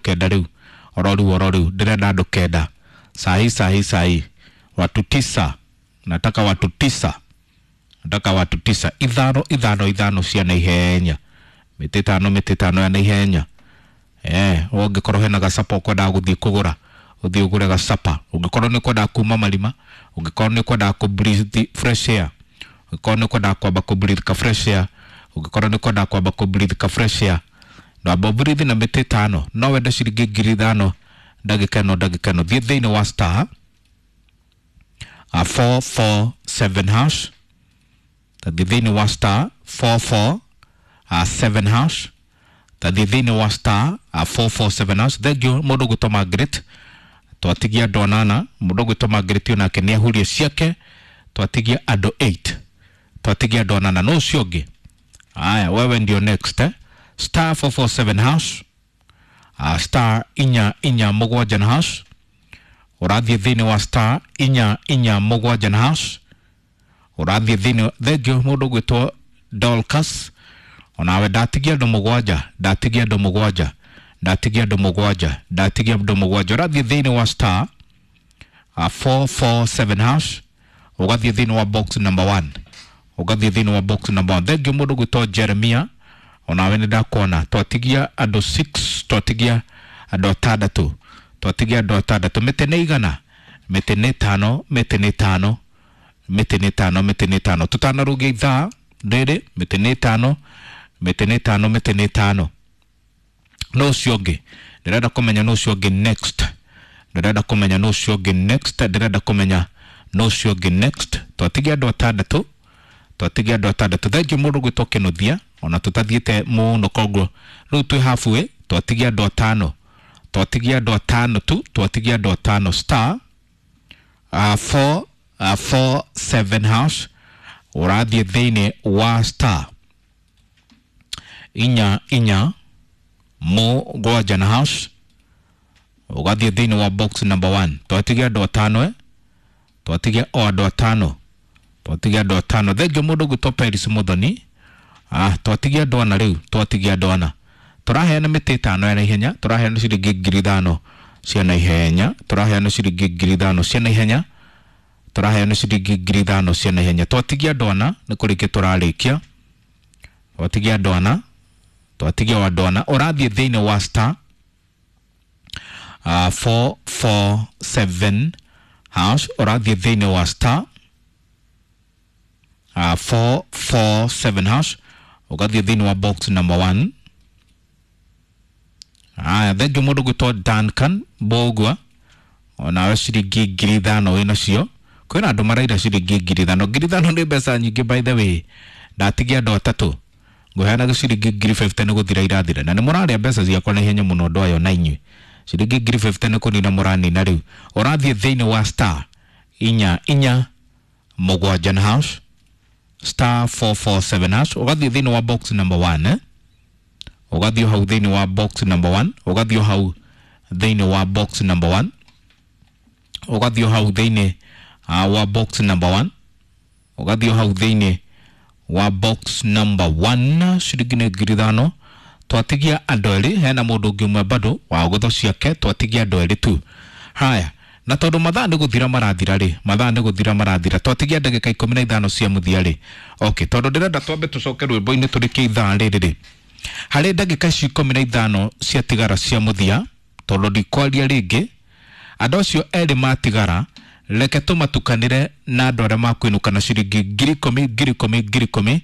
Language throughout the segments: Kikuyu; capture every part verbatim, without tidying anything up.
kenda rĩu oro rĩu oro rĩu ndĩrenda andũ kenda sahi sahi sahi watu tisa nataka watu tisa nataka watu tisa ithano ithano ithano cia naihenya mĩtĩ ĩtano mĩtĩ ĩtano ya naihenya eh ũngĩkorwo hena gacapa ũkwendaga gũthiĩ kũgũra ũthiĩ ũgũre gacapa ũngĩkorwo nĩ ũkwendaga kuma marima ũngĩkorwo nĩ ũkwendaga kũ breathe fresh air ũngĩkorwo nĩ ũkwendaga kwamba kũ breathe ka fresh air ũngĩkorwo nĩ ũkwendaga kwamba kũ breathe ka fresh air ndwamba breathe na mĩtĩ ĩtano no wende ciringi ngiri ithano ndagĩka ĩno ndagĩka ĩno thiĩ thĩinĩ wa star uh, four four seven hash tathiĩ thĩinĩ wa star four four uh, seven hash tathiĩ thĩinĩ wa star uh, four four seven hash thengiũ mũndũ ũgwĩtwo Margaret twatigia andũ anana mũndũ ũgwĩtwo Margaret onake nĩ ahurie ciake twatigia andũ eight twatigia andũ anana no ũcio ũngĩ aya wewe ndio next eh? Star four four seven hash uh, star inya inya mũgwanja na hash ũrathiĩ thĩinĩ wa star inya inya mũgwanja na hash ũrathiĩ thĩinĩ thengio mũndũ ũgwĩtwo Dorcas onawe ndatigia andũ mũgwanja ndatigia andũ mũgwanja ndatigia andũ mũgwanja ndatigia andũ mũgwanja ũrathiĩ thĩinĩ wa star uh, four four seven hash ũgathiĩ thĩinĩ wa box number one ũgathiĩ thĩinĩ wa box number one thengio mũndũ ũgwĩtwo Jeremia onawe nĩ ndakuona twatigia andũ six twatigia andũ atandatũ twatigia andũ atandatũ mĩtĩ nĩ igana mĩtĩ nĩ ĩtano mĩtĩ nĩ ĩtano mĩtĩ nĩ ĩtano mĩtĩ nĩ ĩtano tũtanarũgia ithaa rĩrĩ mĩtĩ nĩ ĩtano mĩtĩ nĩ ĩtano mĩtĩ nĩ ĩtano no ũcio ũngĩ ndĩrenda kũmenya no ũcio ũngĩ next ndĩrenda kũmenya no ũcio ũngĩ next ndĩrenda kũmenya no ũcio ũngĩ next twatigia andũ atandatũ twatigia andũ atandatũ thengio mũndũ ũgwĩtwo Kĩnũthia ona tũtathiĩte mũno koguo rĩu twĩ halfway twatigia andũ atano twatigia andũ atano tu twatigia andũ atano star uh, four uh, four seven hash ũrathiĩ thĩinĩ wa star inya inya mũgwanja na hash ũgathiĩ thĩinĩ wa box number one twatigia andũ atano eh? Twatigia o andũ atano twatigia andũ atano thengio mũndũ ũgwĩtwo Peris Muthoni ah twatigia andũ ana rĩu twatigia andũ ana tũraheana mĩtĩ ĩtano ya naihenya tũraheana ciringi ngiri ithano cia naihenya tũraheana ciringi ngiri ithano cia naihenya tũraheana ciringi ngiri ithano cia naihenya twatigia andũ ana nĩ kũrĩkia tũrarĩkia twatigia andũ ana twatigia o andũ ana ũrathiĩ thĩinĩ wa star uh, four four seven hash ũrathiĩ thĩinĩ wa star uh, four four seven hash ũgathiĩ thĩinĩ wa box number one aya thengio mũndũ ũgwĩtwo Duncan Mbũgua onawe ciringi ngiri ithano wĩ nacio kwĩna andũ maraira ciringi ngiri ithano ngiri ithano nĩ mbeca nyingĩ by the way ndatigia andũ atatũ ngũheanaga ciringi ngiri fifty nĩ gũthira irathira na nĩ mũrarĩa mbeca ciakwa na ihenya mũno andũ aya na inyuĩ ciringi ngiri fifty nĩ kũnina mũranina rĩu ũrathiĩ thĩinĩ wa star inya inya mũgwanja na hash star four four seven hash ũgathiĩ thĩinĩ wa box number one eh? Ũgathiĩ hau thĩinĩ wa box number one ũgathiĩ hau thĩinĩ wa box number one ũgathiĩ hau thĩinĩ uh, wa box number one ũgathiĩ hau thĩinĩ wa box number one ciringi nĩ ngiri ithano twatigia andũ erĩ hena mũndũ ũngĩ ũmwe bado wa gũtho ciake twatigia andũ erĩ tu haya na tondũ mathaa nĩ gũthira marathira rĩ mathaa nĩ gũthira marathira twatigia ndagĩka ikũmi na ithano cia mũthia rĩ okay tondũ ndĩrenda twambe tũcoke rwĩmbo-inĩ tũrĩkie ithaa rĩrĩ rĩ harĩ ndagĩka ici ikũmi na ithano ciatigara cia mũthia tondũ ndikwaria rĩngĩ andũ acio erĩ matigara reke tũmatukanĩre na andũ arĩa makwĩnũka na ciringi ngiri ikũmi ngiri ikũmi ngiri ikũmi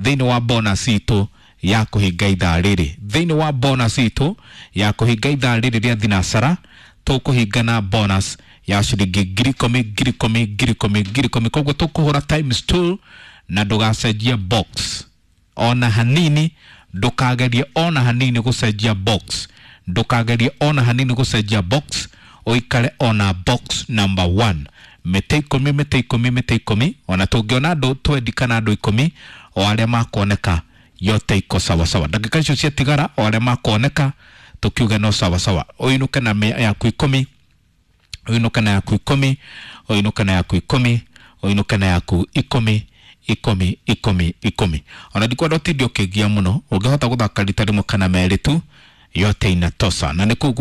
thĩinĩ wa bonus itũ ya kũhinga ithaa rĩrĩ thĩinĩ wa bonus itũ ya kũhinga ithaa rĩrĩ rĩa thinacara tũkũhinga na bonus ya ciringi ngiri ikũmi ngiri ikũmi ngiri ikũmi ngiri ikũmi koguo tũkũhũra times two na ndũgacenjie box ona hanini ndũkagerie ona hanini gũcenjia box ndũkagerie ona hanini gũcenjia box ũikare ona box number one mĩtĩ ikũmi mĩtĩ ikũmi mĩtĩ ikũmi ona tũngĩona andũ twendi kana andũ ikũmi o arĩa makuoneka yote iko sawasawa ndagĩka icio ciatigara o arĩa makuoneka tũkiuge no sawasawa ũinũke na mĩa yaku ikũmi ũinũke na yaku ikũmi ũinũke na yaku ikũmi ũinũke na yaku ikũmi ikũmi ikũmi ikũmi ona ndikwenda ũtinde ũkĩngia mũno ũngĩhota gũthaka rita rĩmwe kana merĩ tu yote inatosa na nĩ kũu.